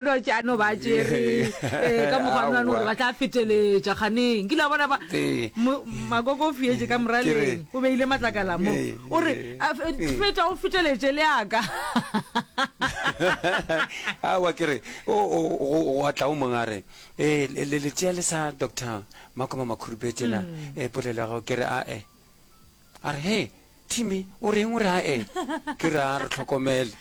Dwatši a no ba tšere eh, ka mokgwa nwane gore ba tla feteletša kganeng. Nkile wa bona ba Ee. mo- makoko o fietše ka Ke re- moraleng, o beile matlakala mo. Ee, O re, ee, "A, fe- ee. feta o feteletše le aka. Aowa ke re o o go go a tla o mongwe a re ee le le le tšea le sa Doctor Makoma Makhurupetše na eh polelo ya gago ke re ae. A re he Timmy o reng o re ae ke re a re hlokomele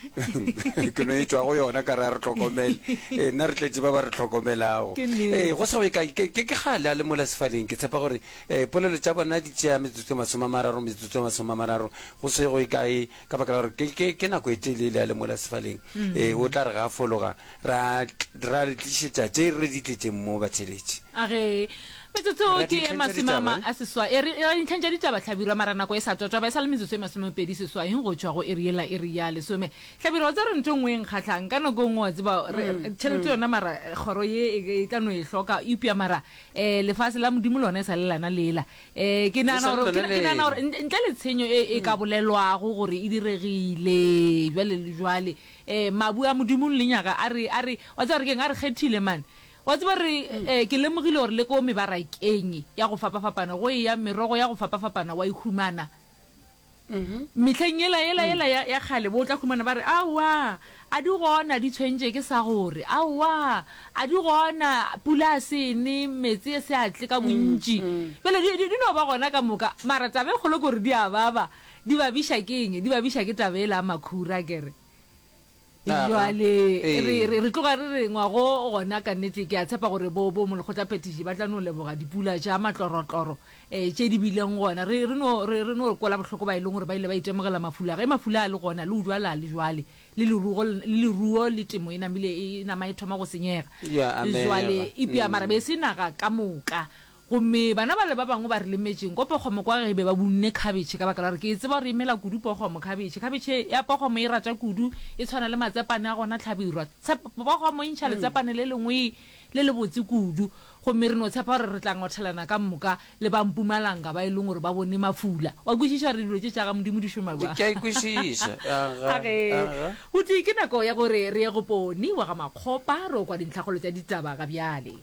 ke no e tšwa go yona ka re a re hlokomele ee nna re tletše ba ba re hlokomelago Ke nnete. ee go sa go ye kae ke ke ke kgale a le mola sefaleng ke tshepa gore um polelo tša bona di tšea metsotso e masome a mararo metsotso e masome a mararo go se go ye kae ka baka la gore ke ke ke nako e telele a le mola sefaleng ee o tla re ga a fologa ra ra le tlišetša tše re di tletšeng mo batheeletši. A re, Metsotso Ra ke ye dintlheng tša masome a ditaba, ma, eh? a seswai. E re, ra dintlheng tša ditaba, Hlabirwa, mara nako e sa tswa-tswa, ba e sa le metsotso e masomepedi seswai go tšwa go iri yela, iri ya lesome. Hlabirwa, o tseba gore ntho e nngwe e nkgahlang, ka nako e nngwe wa tseba, re, re, tšhelete yona mara kgoro ye e, e tla no e hloka, eupša mara um lefase la Modimo lona e sa le lana lela. Um ke E nagana sa le gore, ke, lona ke nagana lela. gore ntle, ntle le tshenyo e, e ka bolelwago gore e diregile bjale le jwale, um mabu a Modimo lenyaga a re, a re, wa tseba gore ke'ng, a re kgethile man. Wa tseba re, eh, ke lemogile gore le ko mebarakeng ya go fapafapana go eya merogo ya go fapafapana wa e humana. Mehleng yela, yela, yela ya, ya kgale bo tla humana ba re, Aowa, a di gona, di tshwentše ke sa gore. Aowa, a di gona, pula a se ne, meetse a se a tle ka bontši. Bjale di, di, di no ba gona ka moka. Mara taba e kgolo ke gore di a baba. Di babiša ke eng? Di babiša ke taba yela ya makhura, akere. Jwale re, re, re tloga re re ngwago gona ka nnete ke a tshepa gore bo, bo molekgotlaphethiši ba tla no leboga dipula tša matlorotloro um tše di bileng gona. Re, re no, re, re no kwela bohloko ba e leng gore ba ile ba itemogela mafula. Ge mafula a le gona le utlwala le jwale, le lerugo, le leruo le temo e namile e nama e thoma go senyega. Ya amega. Jwale epša mara be e se naga ka moka. Gomme bana bale ba bangwe ba re lemetšeng ko pokgomo kwa ge be ba bunne khabetšhe ka baka la gore ke e tseba gore e mela kudu pokgomo, khabetšhe. Khabetšhe ya pokgomo e rata kudu, e tshwana le matsepane a gona hlabirwa. Tshep, pokgomo e ntšha letsepane le lengwe le lebotse kudu. Gomme re no tshepa gore re tla ngwathelana ka moka le ba Mpumalanga ba e leng gore ba bone mafula. Wa kwešiša gore dilo tše tša ga Modimo di šoma bjang? Ke a e kwešiša. Aga, A ge. aga. Buti, ke nako ya gore re ye go Poni wa ga Makgopa re o kwa dintlhakgolo tša ditaba ga bjale.